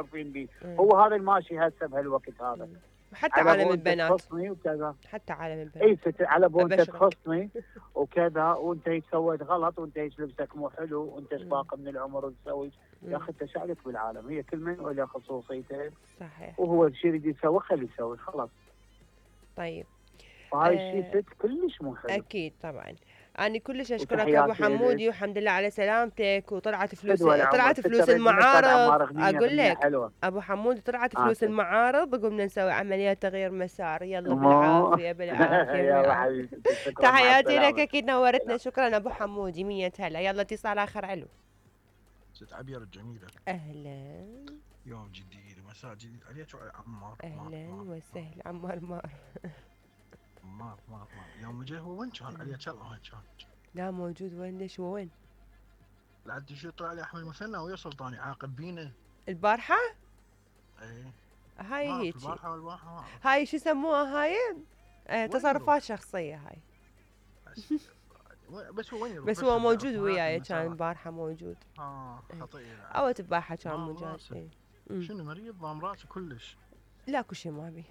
معترفين به. هو هذا الماشي هسه بهالوقت هذا. حتى عالم البنات تخصني وكذا، حتى عالم البنات اي على بو انت تخصني وكذا، وانت سويت غلط، وانت لبسك مو حلو، وانت باقي من العمر وتسوي. يا اخي انت شعلك بالعالم، هي كل من له خصوصيته. صحيح. وهو الشيء اللي يسوي خليه يسوي خلاص. طيب فهاي الشيء كلش مو حلو. اكيد طبعا. أنا كلش أشكرك أبو حمودي، والحمد لله على سلامتك. وطلعت فلوس المعارض. أقول لك أبو حمودي طلعت فلوس المعارض، وقمنا نسوي عمليات تغيير مسار. يلا بالعافية بالعافية. تحياتي لك، أكيد نورتنا. شكرا أبو حمودي، 100 هلا. يلا اتصال آخر. ألو ست عبير الجميلة، أهلا. يوم جديد ومساء جديد عليك وعلى عمار. أهلا وسهلا عمار. مار يوم جاي هو وين كان؟ علي وين كان؟ لا موجود. وين؟ ليش هو وين؟ لا شو طلع لي احمد مثنى ويا سلطاني عاقب بينا البارحة؟ ايه هاي هيك البارحة هاي شو يسموها هاي؟ تصرفات شخصية هاي. بس هو وين؟ بس هو موجود وياي، كان البارحة موجود. خطير. او البارحة كان موجود. شنو مريض؟ ضام راسه كلش؟ لا اكو شيء ما بي.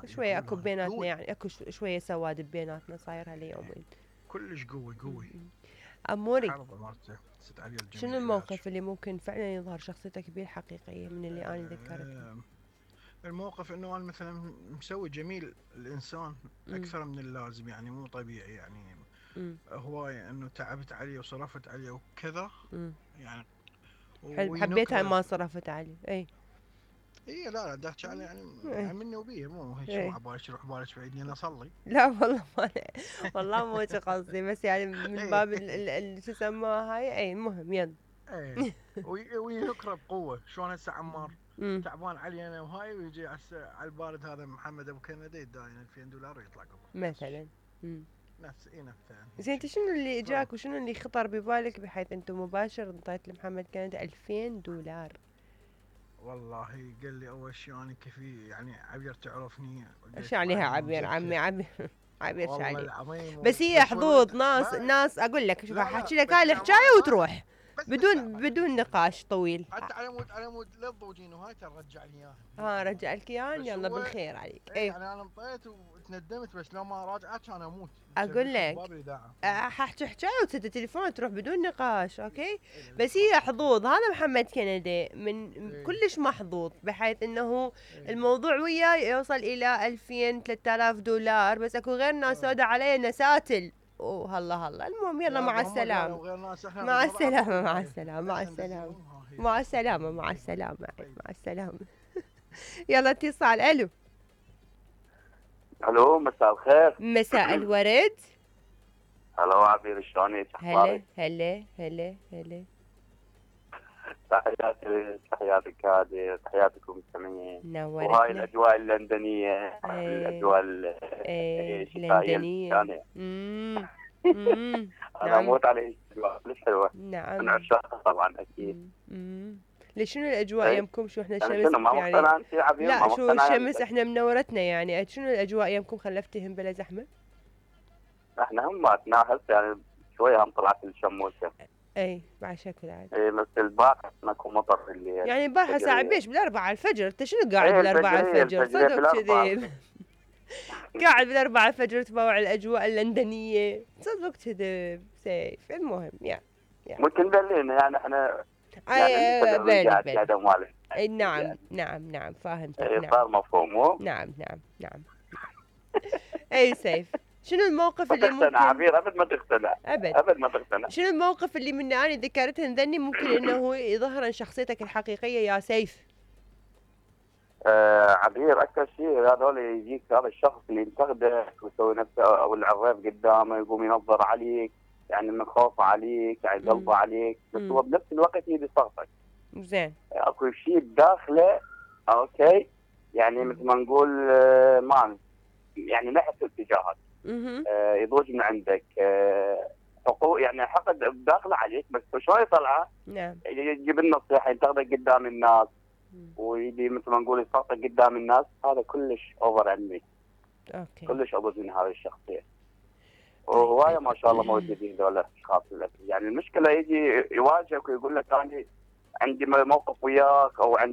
شوية اكو بيناتنا يعني، اكو شوية سواد بيناتنا صاير هاليومين. كلش قوي. اموري، شنو الموقف اللي ممكن فعلا يظهر شخصيتك بيه الحقيقية من اللي انا ذكرته؟ الموقف انه انا مثلا مسوي جميل الانسان اكثر من اللازم، يعني مو طبيعي، يعني هواية انه تعبت عليه وصرفت عليه وكذا يعني. حبيتها ما صرفت عليه. اي لا دحكي على يعني مني وبيه، مو هيك شو عبالك يروح بالك بعيدني انا اصلي. لا والله ما والله مو قصدي، بس يعني من باب شو يسموها هاي. اي المهم يلا. وينكره بقوه. شلون هسه عمار تعبان علي انا وهاي، ويجي على البارد هذا محمد ابو كندي يداين $2000 ويطلع قبل مثلا. نفس زين انت شنو اللي اجاك وشنو اللي خطر ببالك بحيث انت مباشر انطيت لمحمد كندي $2000؟ والله قال لي اول شيء انا كفي يعني عبير تعرفني. ايش عليها عبير عمي؟ عبير شو بس هي حظوظ ناس اقول لك. شوف احكي لك هاي الحكايه وتروح بدون نقاش طويل. حتى على مود لا تضوجين وهاي ترجع لي اياها. رجع لك اياها. يلا بالخير عليك. يعني انا انطيت وتندمت، بس لو ما راجعت كان اموت. اقول لك احكي حكايه وتسد التليفون تروح بدون نقاش. اوكي بس هي حظوظ. هذا محمد كندي من كلش محظوظ، بحيث انه الموضوع وياه يوصل الى $2000-3000. بس اكو غير ناس سودا عليه نساتل. هلا المهم يلا مع السلامة. مع السلامة. يلا اتصال. الو مساء الخير. مساء الورد. هلا عبير شلونك؟ هلا تحياتك هذه، تحياتكم المستمعين. نورتنا. وهاي الاجواء اللندنيه، الاجواء اللندنيه. انا اموت على الاجواء كلش حلوه. نعم من عشاقها طبعا اكيد. ليش شنو الاجواء يمكم؟ شو احنا الشمس يعني لا شو الشمس احنا منورتنا يعني. شنو الاجواء يمكم خلفتهم بلا زحمه؟ احنا هماتنا هسه يعني شويه هم طلعت الشموسه. اي بعد شكل عادي. بس البارحه ماكو مطر اللي يعني البارحه الساعه بيش ب4 الفجر. انت شنو قاعد ب4 الفجر؟ صدق كذب. قاعد ب4 الفجر تبوع الاجواء اللندنيه. صدق كذب سيف. المهم يعني ممكن دلينا يعني احنا بالي. نعم فاهمتك. صار مفهوم. نعم اي سيف. شنو الموقف اللي ممكن عبير ابد ما تقتنع. شنو الموقف اللي من اني ذكرته ذني ممكن انه يظهر شخصيتك الحقيقيه يا سيف؟ عبير اكثر شيء هذول يجيك هذا الشخص اللي ينتقدك ويسوي نفسه او العريف قدامه، يقوم ينظر عليك يعني من خوفه عليك، يعني قلبه عليك، بس هو بنفس الوقت يبي صغتك. زين. اكو شيء بداخله اوكي يعني مثل ما نقول ما يعني نحس اتجاهك. يضوج من عندك حقوق يعني حقد بداخله عليك، بس شلون يطلعه؟ نعم. يجيب النصيحه، ينتقدك قدام الناس ويبي مثل ما نقول يصغتك قدام الناس. هذا كلش اوفر عندي. اوكي. كلش ابوز من هذه الشخصيه. وهوايه ما شاء الله موجودين ذولا الاشخاص. يعني المشكله يجي يواجهك ويقول لك انا عندي موقف وياك او عندي